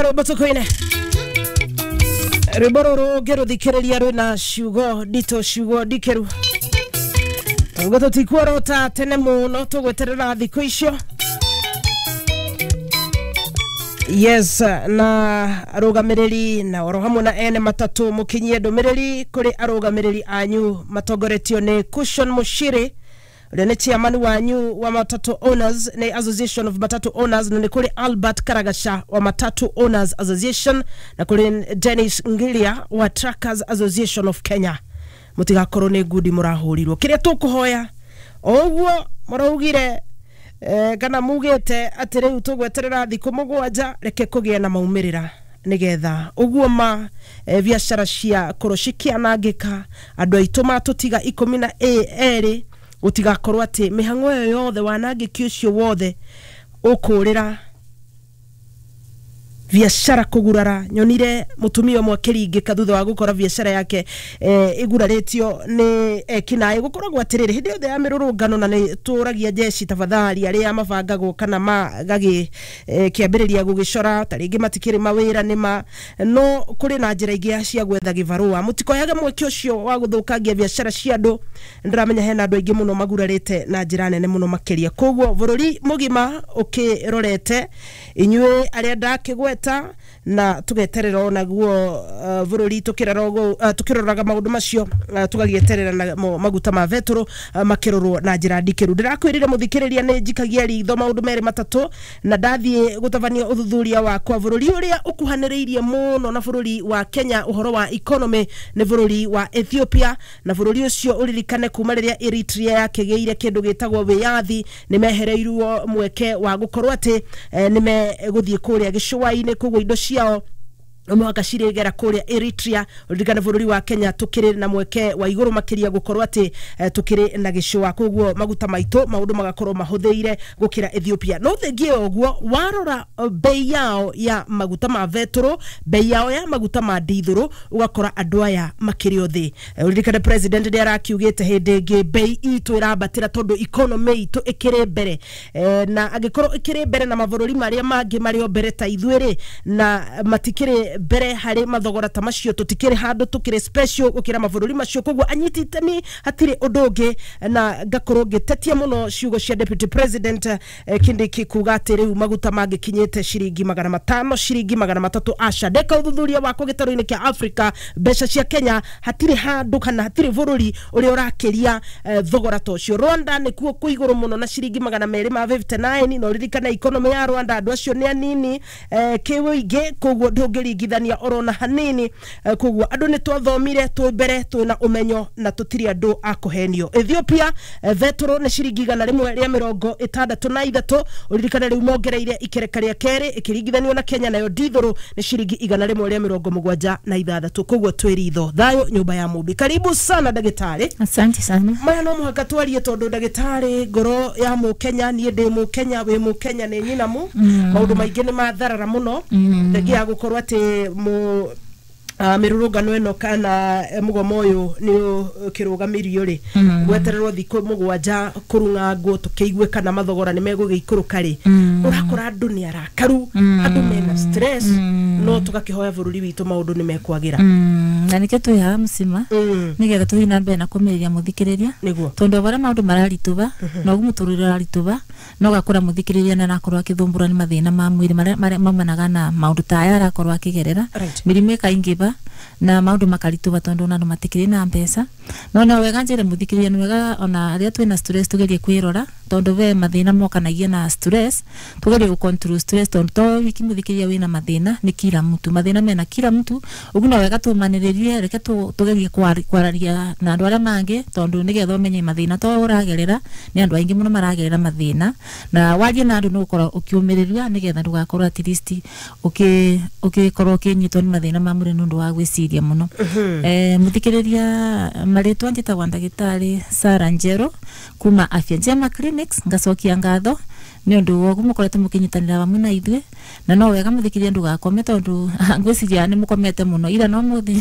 Rwĩmbo tũkũine rwĩmbo rũrũ ngĩrũthikĩrĩria rwĩna ciugo nditũ, ciugo ndikĩru. Ũguo tũtikuorota tene mũno, tũgweterera thikũ icio. Yes, na arũgamĩrĩri na oro hamwe na ene matatũ, mũkinyie ndũmĩrĩri kũrĩ arũgamĩrĩri anyu matongoretio nĩ Cushion Mushiri, ũrĩa nĩ chairman wanyu wa Matatu Owners, nĩ Association of Matatu Owners, na nĩ kũrĩ Albert Karagasha wa Matatu Owners Association, na kũrĩ Dennis Ngilia wa Truckers Association of Kenya. Mũtigakorwo nĩ ngundi mũrahũrirwo. Kĩrĩa tũkũhoya o ũguo mũraugire, kana mugĩte atĩ rĩu tũgweterera thikũ 7, reke kũgĩe na maumĩrĩra nĩgetha ũguo ma biacara cia korwo cikĩanangĩka, andũ aitũ matũtiga 12, gũtigakorwo atĩ mĩhang'o ĩyo yothe, wanangĩki ũcio wothe ũkũrĩra biacara kũgurara. Nyonire mũtumia ũmwe akĩringĩka thutha wa gũkora biacara yake ĩgurarĩtio nĩ ekinaĩ. Gũkoragwo atĩrĩrĩ, hĩndĩ yothe ya mĩrũrũngano, na nĩ tũragia jeshi tafadhali, arĩa mabangagwo kana magagĩ kĩambĩrĩria gũgĩcora ta rĩngĩ matikĩrĩ mawĩra nĩma, no kũrĩ na njĩra ingĩ cia gwetha gĩbarũa. Mũtikoyage mweke ũcio wa gũthũkangia biacara cia andũ. Ndĩramenya hena andũ aingĩ mũno magurarĩte na njĩra nene mũno makĩria. Koguo bũrũri mũgima ũkĩrorete inyuĩ arĩa ndakĩgweta, na tugeterera onaguo bũrũri tukĩroraga maũndũ macio, tũgagĩeterera na maguta ma betũrũ makĩrorwo na njĩra ndikĩru. Ndĩrakwĩrire mũthikĩrĩria nĩ njikagia ritho maũndũ merĩ matatũ, na ndathiĩ gũtabania ũthuthuria wakwa bũrũri ũrĩa ũkuhanĩrĩirie mũno na bũrũri wa Kenya ũhoro wa economy nĩ bũrũri wa Ethiopia. Na bũrũri ũcio, ũririkane kuma rĩrĩa Eritrea yakĩgĩire kĩndũ gĩtagwo wĩyathi, nĩ mehereirwo mweke wa gũkorwo atĩ nĩ megũthiĩ kũrĩa gĩcũa-inĩ, koguo indo ciao no mũhaka cirĩgera kũrĩa Eritrea. Ũririkane bũrũri wa Kenya tũkĩrĩ na mweke wa igũrũ makĩria gũkorwo atĩ tũkĩrĩ na gĩcũa, koguo maguta maitũ maũndũ magakorwo mahũthĩire gũkĩra Ethiopia. No thengia ya ũguo, warora bei yao ya maguta ma betũrũ, bei yao ya maguta ma ndithũrũ, ũgakora andũ aya makĩrĩ o thĩ. Ũririkane president nĩ arakiugĩte hĩndĩ ĩngĩ bei itũ ĩrambatĩra tondũ economy itũ ĩkĩrĩ mbere, na angĩkorwo ĩkĩrĩ mbere na mabũrũri marĩa mangĩ marĩ o mbere ta ithuĩ rĩ, na matikĩrĩ mbere harĩ mathogora ta macio, tũtikĩrĩ handũ tũkĩrĩ special gũkĩra mabũrũri macio. Koguo anyiti itemi, hatirĩ ũndũ ũngĩ, na ngakorwo ngĩtetia mũno ciugo cia deputy president Kindiki kuga atĩ rĩu maguta mangĩkinyĩte ciringi 500, ciringi 300. Aca, ndeka ũthuthuria wakwa gĩtarũ-inĩ kĩa Africa, mbeca cia Kenya hatirĩ handũ kana hatirĩ bũrũri ũrĩa ũrakĩria thogora ta ũcio. Rwanda nĩkuo kwĩ igũrũ mũno na ciringi 259, na ũririkane economy ya Rwanda, andũ acio nĩ anini kĩũingĩ, koguo ndũngĩringithania orona hanini. Koguo andũ nĩ twathomire twĩ mbere, twĩna ũmenyo na tũtirĩ andũ a kũhenio. Ethiopia betũrũ nĩ ciringi 163, ũririkane rĩu mongereire ikereka rĩa kerĩ ĩkĩringithanio na Kenya, nayo ndithũrũ nĩ ciringi 176. Koguo twĩ ritho thayũ nyũmba ya mũmbi. Karibu sana ndagĩtarĩ. Asante sana. Maya no mũhaka twarie tondũ ndagĩtarĩ, ngoro ya mũkenya, niĩ ndĩ mũkenya, wĩ mũkenya, nĩ nyinamu, maũndũ maingĩ nĩ matharara mũno, thengia ya gũkorwo atĩ mũ mĩrũrũngano ĩno kana mũgomo ũyũ nĩ ũkĩrũgamirio rĩ, gwetererwo thikũ 7 kũrung'angwo tũkĩigue kana mathogora nĩ megũgĩikũrũka rĩ, ũrakora andũ nĩ arakaru, andũ mena stress, no tũgakĩhoya bũrũri witũ maũndũ nĩ mekwagĩra. Na nikio twĩ haha mũcima nĩgetha tũthiĩ na mbere na kũmĩrĩria mũthikĩrĩria, tondũ o ũrĩa maũndũ mararitũha noguo mũtũrĩre ũraritũha, no ũgakora mũthikĩrĩria nĩ arakorwo akĩthumbũrwo nĩ mathĩna ma mwĩrĩ marĩa maumanaga na maũndũ ta aya arakorwo akĩgerera. Mĩrimũ ĩkaingĩha na maũndũ makaritũha tondũ ona andũ matikĩrĩ na mbeca. No no wega njĩre mũthikĩrĩria, nĩ wega ona arĩa twĩna stress tũgerie kwĩrora, tondũ ve mathĩna mokanagia na stress. Tugerie gũ control stress, tondũ to wiki mũthikĩrĩria wĩna mathĩna, nĩ kila mtu, mathĩna mena kila mtu. Ũguo no wega tũmanĩrĩrie, reke tũgerie kwararia na andũ arĩa mangĩ, tondũ nĩgetha ũmenye mathĩna to ũragerera, nĩ andũ aingĩ mũno maragerera mathĩna, na warie na andũ nĩ ũgũkorwo ũkĩũmĩrĩria nĩgetha ndũgakorwo at least ũkĩkorwo ũkĩnyitwo nĩ mathĩna ma mwĩrĩ nĩ ũndũ wa gwĩciria mũno. Mũthikĩrĩria, marĩtwa njĩtagwo ndagĩtarĩ Sarah Njerũ kuma Afya Njema Clinics. Ngacokia ngatho Nĩ ũndũ wa ũguo mũkoretwo mũkĩnyitanĩra hamwe na ithuĩ, na no wega mũthikĩria ndũgakome tondũ ngwĩciria nĩ mũkomete mũno ira no mũthĩ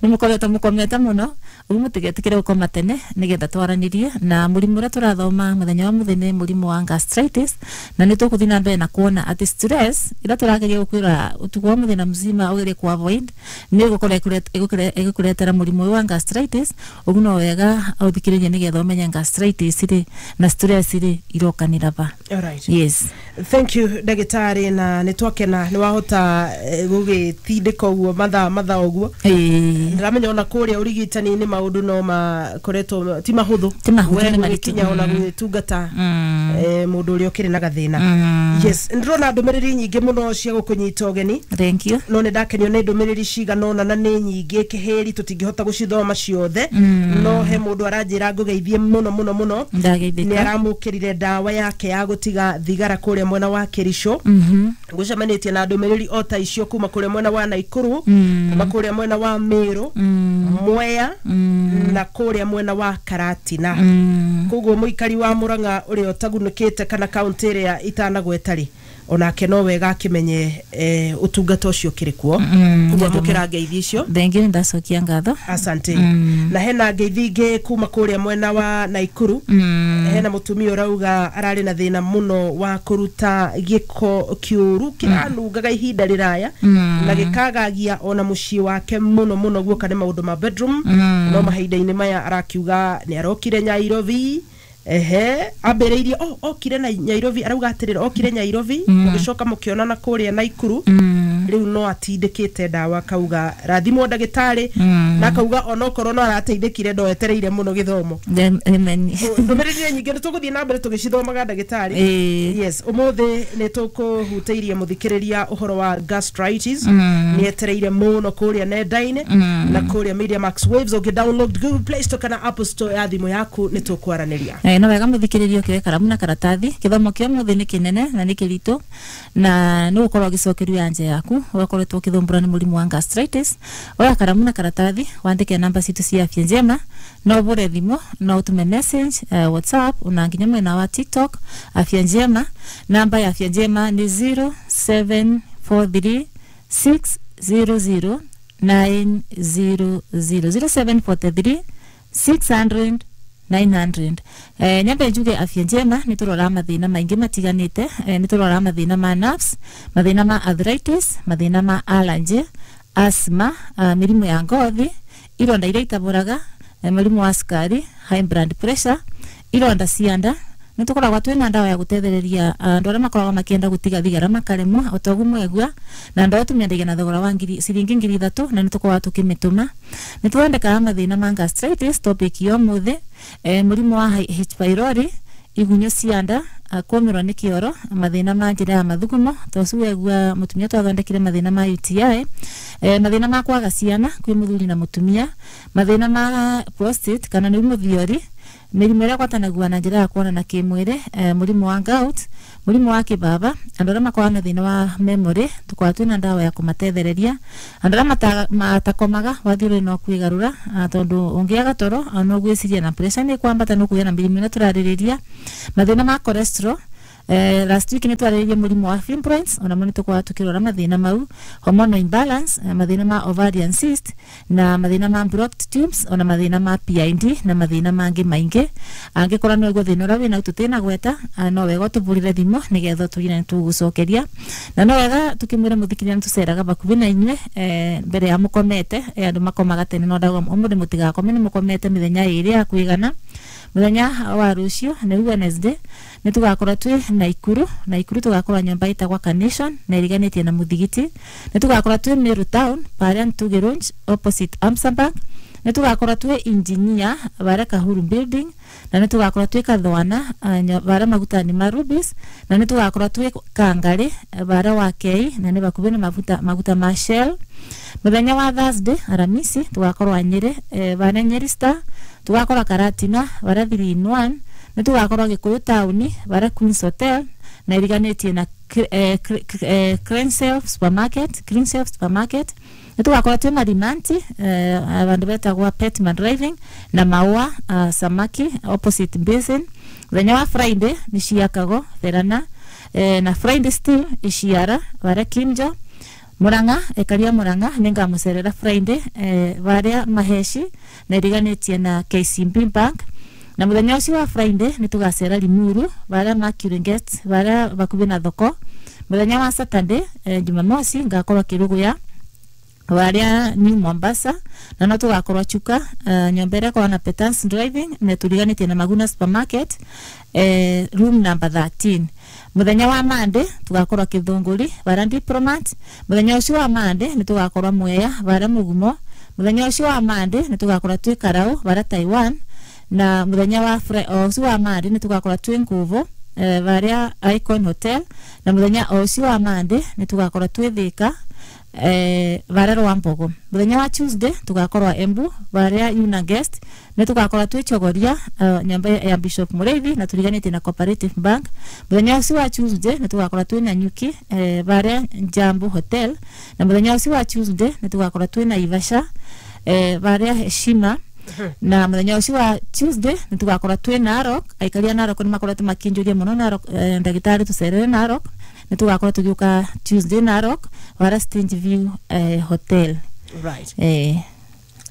nĩ mũkoretwo mũkomete mũno. Ũguo mũtigetĩkĩre gũkoma tene nĩgetha twaranĩrie. Na mũrimũ ũrĩa tũrathoma mũthenya wa mũthĩ nĩ mũrimũ wa gastritis, na nĩ tũkũthiĩ na mbere na kuona atĩ stress ĩrĩa tũrageria gũkwĩra ũtukũ wa mũthenya mzima ũgerie ku avoid nĩ ĩgũkorwo ĩgĩkũretera mũrimũ ũyũ wa gastritis. Ũguo no wega ũthikĩrĩrie nĩgetha ũmenye gastritis rĩ na stress rĩ irokanĩra va. Alright. Yes. Thank you ndagĩtarĩ, na nĩ twakena nĩ wahota gũgĩtindĩka ũguo mathaa mathaa ũguo. Ndĩramenya ona kũrĩa ũrigitani-inĩ maũndũ no makoretwo ti mahũthũ. Ti mahũthũ, We nĩ maritũ. gũgĩkinya ona gũgĩtungata mũndũ ũrĩa ũkĩrĩ na gathĩna. Yes, ndĩrona ndũmĩrĩri nyingĩ mũno cia gũkũnyita ũgeni. Thank you. No nĩ ndakenio nĩ ndũmĩrĩri cigana ũna na nĩ nyingĩ kĩhĩri tũtingĩhota gũcithoma ciothe, no he mũndũ aranjĩra ngũgeithie mũno mũno mũno. Nĩ Ndageithĩka. aramũkĩrire ndawa yake ya gũtiga thigara kũrĩa mwena wa Kericho. Gũcemanĩtie na ndũmĩrĩri o ta icio kuma kũrĩa mwena wa Naikuru, kuma kũrĩa mwena wa Meru, Mwea na kũrĩa mwena wa Karatina. Koguo mũikari wa Murang'a ũrĩa ũtagunĩkĩte kana kaũntĩ ĩrĩa itanagweta rĩ, onake no wega akĩmenye ũtungata ũcio ũkĩrĩ kuo. Koguo amũkĩra ngeithi icio. Thank you, ndacokia ngatho. Asante. Na hena ngeithi ingĩ kuma kũrĩa mwena wa Naikuru. Hena mũtumia ũrauga ararĩ na thĩna mũno wa kũruta gĩko kĩũru kĩranungaga ihinda rĩraya na gĩkagagia ona mũciĩ wake mũno mũno guoka nĩ maũndũ ma bedroom. No mahinda-inĩ maya arakiuga nĩ arokire Nyairobi. Ehe, ambĩrĩirie oh, okire na Nairobi, arauga atĩrĩrĩ okire Nairobi, mũgĩcoka mũkĩonana kũrĩa Naikuru. Rĩu no atindĩkĩte ndawa, akauga rathimwo ndagĩtarĩ, na akauga onokorwo no arateithĩkire no etereire mũno gĩthomo. Amen. Ndũmĩrĩri nyingĩ nĩ tũgũthiĩ na mbere tũgĩcithomaga ndagĩtarĩ. Yes, ũmũthĩ nĩ tũkũhutĩirie mũthikĩrĩria ũhoro wa gastritis. Nĩ etereire mũno kũrĩa nenda-inĩ na kũrĩa Media Max Waves. Ũngĩ download Google Play Store kana Apple Store ya thimũ yaku, nĩ tũkwaranĩria. No wega mũthikĩrĩria ũkĩoe karamu na karatathi. Gĩthomo kĩa ũmũthĩ nĩ kĩnene na nĩ kĩritũ, na nĩ gũkorwo ũgĩcokerio ya nja yaku ũgakoretwo ũkĩthumbũra nĩ mũrimũ wa gastritis. Oya karamu na karatathi wandĩke namba citũ cia Afya Njema. No ũbũre thimũ, no ũtũme message, WhatsApp ona nginya mwena wa TikTok Afya Njema. Namba ya Afya Njema nĩ 0743 600 900, 0743 600 900. Nyambe njuge Afya Njema nĩ tũroraga mathĩna maingĩ matiganĩte. Nĩ tũroraga mathĩna ma nerves, mathĩna ma arthritis, mathĩna ma allergy, asthma, mĩrimũ ya ngothi, ironda iria itabũraga, mũrimũ wa cukari, high blood pressure, ironda cia nda. Nĩ tũkoragwo twĩna ndawa ya gũtethereria andũ arĩa makoragwo makĩenda gũtiga thigara makaremwo o ta ũguo mwegua, na ndawa tũmĩendagia na thogora wa ngiri ciringi 3,000, na nĩ tũkoragwo tũkĩmĩtũma. Nĩ tũthondekaga mathĩna ma gastritis, topic ya ũmũthĩ, mũrimũ wa H pylori, igunyo cia nda, kũmĩrwo nĩ kĩoro, mathĩna ma njĩra ya mathugumo ta ũcio wegua mũtumia twathondekire mathĩna ma UTI, mathĩna ma kwaga ciana kwĩ mũthuri na mũtumia, mathĩna ma prostate kana nĩ mũthiori, mĩrimũ ĩrĩa ĩgwatanagio na njĩra ya kuonana kĩmwĩrĩ, mũrimũ wa gout, mũrimũ wa kĩbaba, andũ arĩa makoragwo na thĩna wa memory tũkoragwo twĩna ndawa ya kũmatethereria, andũ arĩa matakomaga wathiũrũrĩ no kwĩgarũra, tondũ ũngĩaga toro no gwĩciria na pressure nĩ kwambata no kũgĩa na mĩrimũ ĩrĩa tũrarĩrĩria, mathĩna ma cholesterol. Last week nĩ twarĩrĩria mũrimũ wa fibroids, ona mo nĩ tũkoragwo tũkĩrora mathĩna mau, hormonal imbalance, mathĩna ma ovarian cyst na mathĩna ma blocked tubes, ona mathĩna ma PID na mathĩna mangĩ maingĩ. Angĩkorwo nĩ ũguo thĩna ũrĩa wĩna tũtinagweta, no wega ũtũbũrĩre thimũ nĩgetha tũgire nĩ tũgũcokeria. Na no wega tũkĩmwĩra mũthikĩrĩria nĩ tũceraga bakuhĩ na inyuĩ, mbere ya mũkomete. Andũ makomaga tene, no ndauga ũmũthĩ mũtigakome, nĩ mũkomete mĩthenya ĩrĩ ya kũigana. Mũthenya wa rũciũ nĩ Wednesday nĩ tũgakorwo twĩ Naikuru. Naikuru tũgakorwo nyũmba ĩtagwo Carnation na ĩriganĩtie na mũthigiti. Nĩ tũgakorwo twĩ Meru Town parĩa Ntuge Lounge opposite Amsa Bank. Nĩ tũgakorwo twĩ Engineer barĩa Kahuru Building, na nĩ tũgakorwo twĩ Kathwana barĩa magutani ma Rubis, na nĩ tũgakorwo twĩ Kangarĩ barĩa wa Kei na nĩ bakuhĩ na maguta ma Shell. Mũthenya wa Thursday Aramisi tũgakorwo Nyĩrĩ, barĩa Nyeri Star, tũgakorwo Karatina barĩa 3 in 1, nĩ tũgakorwo Gĩkũyũ taũni barĩa Queens Hotel, na iriganĩtie na Cleanself Supermarket, Cleanself Supermarket. Nĩ tũgakorwo twĩ Marimanti, vandu betagwa Petman Driving na Maua, Samaki opposite Basin. Mũthenya wa Friday nĩ ciakago Therana, na Friday still Iciara varia Kimjo Murang'a, ekaria Murang'a nĩngamũcerera Friday, varia Maheshi na iriganĩtie na KCB Bank. Na mũthenya ũcio wa Friday nĩ tũgacera Limuru varia Mercury Guest varia vakuhĩ na thoko. Mũthenya wa Saturday, Jumamosi, ngakorwo Kĩrũgũya varia New Mombasa, na no tũgakorwo Chuka, nyũmba ĩrĩa ĩkoragwo na Petans Driving na tũriganĩtie na Maguna Supermarket, room number 13. Mũthenya wa Monday tũgakorwo Kĩthũngũri varia Diplomat. Mũthenya ũcio wa Monday nĩ tũgakorwo Mwea varia Mũgumo. Mũthenya ũcio wa Monday nĩ tũgakorwo twĩ Karau varia Taiwan, na mũthenya wa ũcio wa Monday nĩ tũgakorwo twĩ Nguvu, varia Icon Hotel, na mũthenya o ũcio wa Monday nĩ tũgakorwo twĩ Thika, varia Rwambogo. Mũthenya wa Tuesday tũgakorwo Embu varia Una Guest. Nĩ tũgakorwo twĩ Chogoria, nyũmba ya Bishop Mũrĩithi na tũriganĩtie na Cooperative Bank. Mũthenya ũcio wa Tuesday nĩ tũgakorwo twĩ Nanyuki, varia Jambo Hotel, na mũthenya ũcio wa Tuesday nĩ tũgakorwo twĩ Naivasha, varia Heshima, na mũthenya ũcio wa Tuesday nĩ tũgakorwo twĩ Narok. Aikaria Narok nĩ makoretwo makĩnjũria mũno Narok, ndagĩtarĩ tũcerere Narok. Nĩ tũgakorwo tũgĩũka Tuesday Narok varia Stage View Hotel. Right.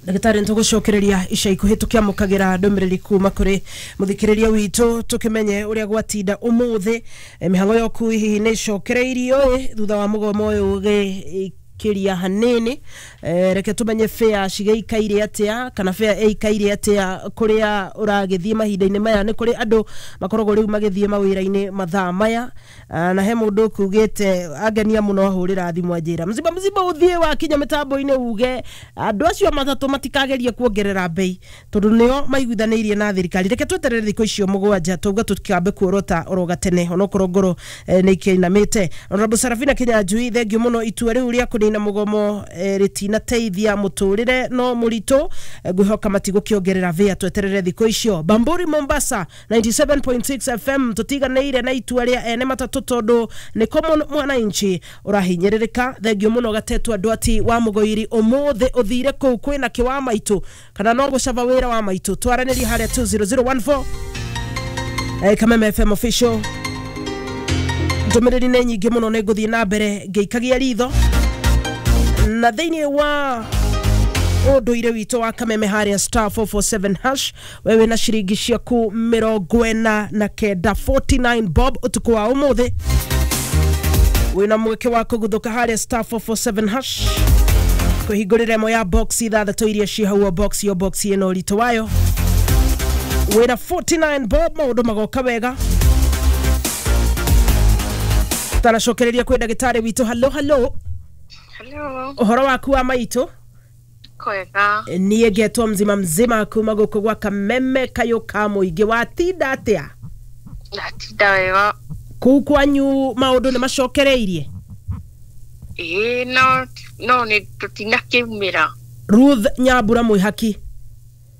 Ndagĩtarĩ, nĩtũgũcokereria ica ikuhĩ tũkĩamũkagĩra ndũmĩrĩri kuma kũrĩ mũthikĩrĩria witũ, tũkĩmenye ũrĩa gwatinda ũmũthĩ. Mĩhang'o ya ũkui hihi nĩ ĩcokereirio ĩ thutha wa mũgomo ũyũ ũgĩkiria hanini. Reke tũmenye fare cigĩikaire atĩa kana fare ĩikaire atĩa kũrĩa ũragĩthiĩ mahinda-inĩ maya. Nĩ kũrĩ andũ makoragwo rĩu magĩthiĩ mawĩra-inĩ mathaa maya. Na he mũndũ ũkugĩte angenia mũno ahũrĩra thimũ anjĩra mzima mzima ũthiĩ wakinya mĩtambo-inĩ uge andũ acio a matatũ matikagerie kuongerera bei tondũ nĩo maiguithanĩirie na thirikari. Reke tweterere thikũ icio 7 tauga tũtikambe kuorota oro gatene onokorwo ngoro nĩ ikĩinamĩte. Honorable Sarafina Kinyanjui, thengio mũno. Itua rĩu rĩa kũnina mũgomo rĩtinateithia mũtũrĩre no mũritũ. Ngwĩhoka matigũkĩongerera vĩa, tweterere thikũ icio. Bamburi Mombasa 97.6 FM, tũtiganĩire na itua rĩa ene matatũ tondũ nĩ common mwananchi ũrahinyĩrĩrĩka. Thengio mũno. Gatetwo Ndwati wa Mũgoiri, ũmũthĩ ũthire kũu kwĩna kĩ wa maitũ kana no gũcaba wĩra wa maitũ? Twaranĩrie harĩa 20014, Kameme FM official. Ndũmĩrĩri nĩ nyingĩ mũno, nĩ ngũthiĩ na mbere ngĩikagia ritho na thĩinĩ wa ũndũire witũ wa Kameme harĩa star 447 hash. Wewe na ciringi ciaku 49, 49 bob, ũtukũ wa ũmũthĩ wĩna mweke wa kũguthũka harĩa star 447 hash kũhingũrĩra ĩmwe ya box ithathatũ iria ciĩ hau, o box o box ĩna ũritũ wayo. Wĩna 49 bob, maũndũ magoka wega. Tanacokereria kwĩ ndagĩtarĩ witũ. Hallo, hallo. Hello. Ũhoro waku wa maitũ? Kwega. Niĩ ngetwo mzima mzima kuma gũkũ gwa Kameme kayũ ka mũingĩ. Watinda atĩa? Ndatinda wega. Kũu kwanyu maũndũ nĩ macokereirie? Ĩĩ, no nĩ tũtinakĩumĩra. Ruth Nyambura Mwĩhaki.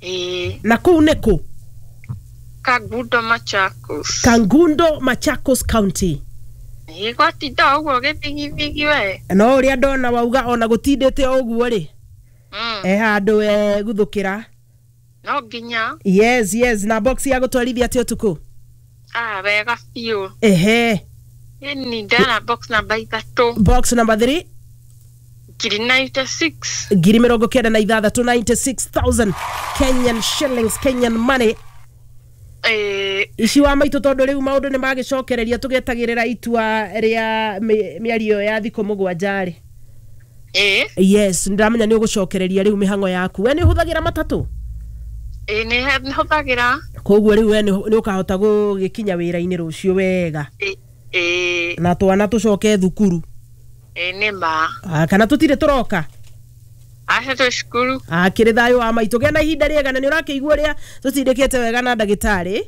Ĩĩ. Na kũu nĩ kũ? Kangundo, Machakos. Kangundo, Machakos County. Ĩĩ, gwatinda ũguo gĩthigithigi we. No ũrĩa ndona wauga ona gũtindĩte o ũguo rĩ, e handũ guthũkĩra. No nginya. Yes, na box ya gũtwarithia atĩa ũtukũ? Ah, wega biũ. Ĩni ndana box namba 3. Box number 3. Ngiri 96. 96,000, 96,000 Kenyan shillings, Kenyan money. Ĩĩ. Ici wa maitũ, tondũ rĩu maũndũ nĩ magĩcokereria tũgetagĩrĩra itua rĩa mĩario ya thikũ 7 rĩ. Ĩĩ. Yes, ndĩramenya nĩ ũgũcokereria rĩu mĩhang'o yaku. We nĩ ũhũthagĩra matatũ? Ĩĩ, nĩ hũthagĩra. Koguo rĩu we nĩ ũkahota gũgĩkinya wĩra-inĩ rũciũ wega. Ĩĩ. Na twana tũcoke thukuru. Ĩĩ, nĩ ma. Ah, kana tũtirĩ tũroka? Aca, twĩ cukuru. Akĩrĩ thayũ wa maitũ, gĩa na ihinda rĩega, na nĩ ũrakĩigua ũrĩa tũtindĩkĩte wega na ndagĩtarĩ.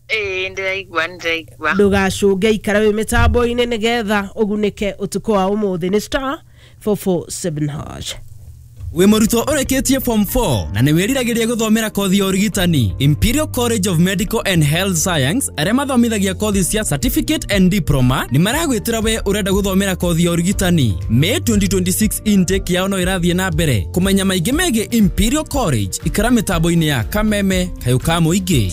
Ĩĩ, ndĩraigua, ndĩraigua. Ndũgacũnge, ikara wĩ mĩtambo-inĩ nĩgetha ũgunĩke ũtukũ wa ũmũthĩ. Nĩ star 447 hash. Wĩ mũrutwo ũrĩkĩtie form 4 na nĩ wĩriragĩria gũthomera kothi ya ũrigitani. Imperial College of Medical and Health Science arĩa mathomithagia kothi cia certificate and diploma nĩ maragwĩtĩra we ũrenda gũthomera kothi ya ũrigitani. May 2026 intake yao no ĩrathiĩ na mbere. Kũmenya maingĩ megiĩ Imperial College ikara mĩtambo-inĩ ya Kameme Kayũ ka Mũingĩ.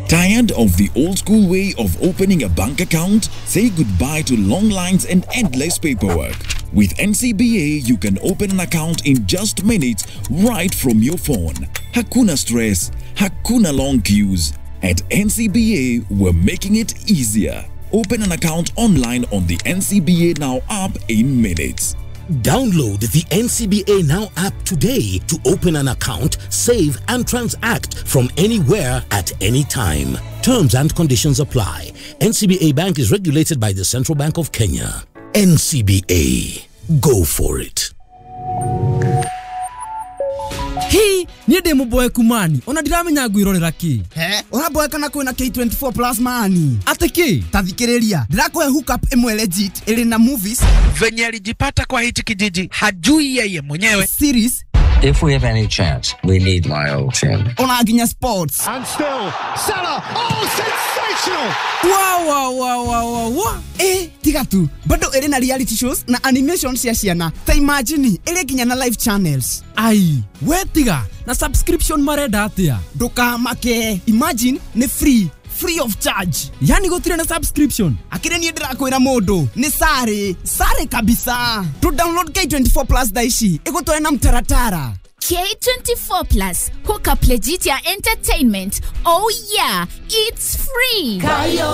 Tired of the old school way of opening a bank account? Say goodbye to long lines and endless paperwork. With NCBA, you can open an account in just minutes right from your phone. Hakuna stress, hakuna long queues. At NCBA, we're making it easier. Open an account online on the NCBA Now app in minutes. Download the NCBA Now app today to open an account, save, and transact from anywhere at any time. Terms and conditions apply. NCBA Bank is regulated by the Central Bank of Kenya. NCBA. Go for it. Hi, niĩ ndĩ mũboeku mani ona ndiramenya ngwĩrorera kĩ. He, ũraboeka na kwĩna K24 plus mani. Atĩ kĩ? Ta thikĩrĩria, ndĩrakũhe hookup ĩmwe legit ĩrĩ na movies. Venye alijipata kwa hichi kijiji hajui yeye mwenyewe. Series. If we have any chance, we need my old team. Ona nginya sports. And still, Salah, oh, sensational! Wow, wow, wow, wow, wow, wow. Tiga tu, bado ĩrĩ na reality shows na animation cia ciana. Ta imagine, ĩrĩ nginya na live channels. Ai, we tiga, na subscription marenda atĩa? Ndũkamake, imagine nĩ free. Free of charge. Yani gũtirĩ na subscription. Akĩrĩ niĩ ndĩrakwĩra mũndũ nĩ sare sare kabisa. To download K24 plus thaa ici ĩgũtware na mtaratara. K24 plus hookup legit ya entertainment. Oh yeah, it's free. Kayo.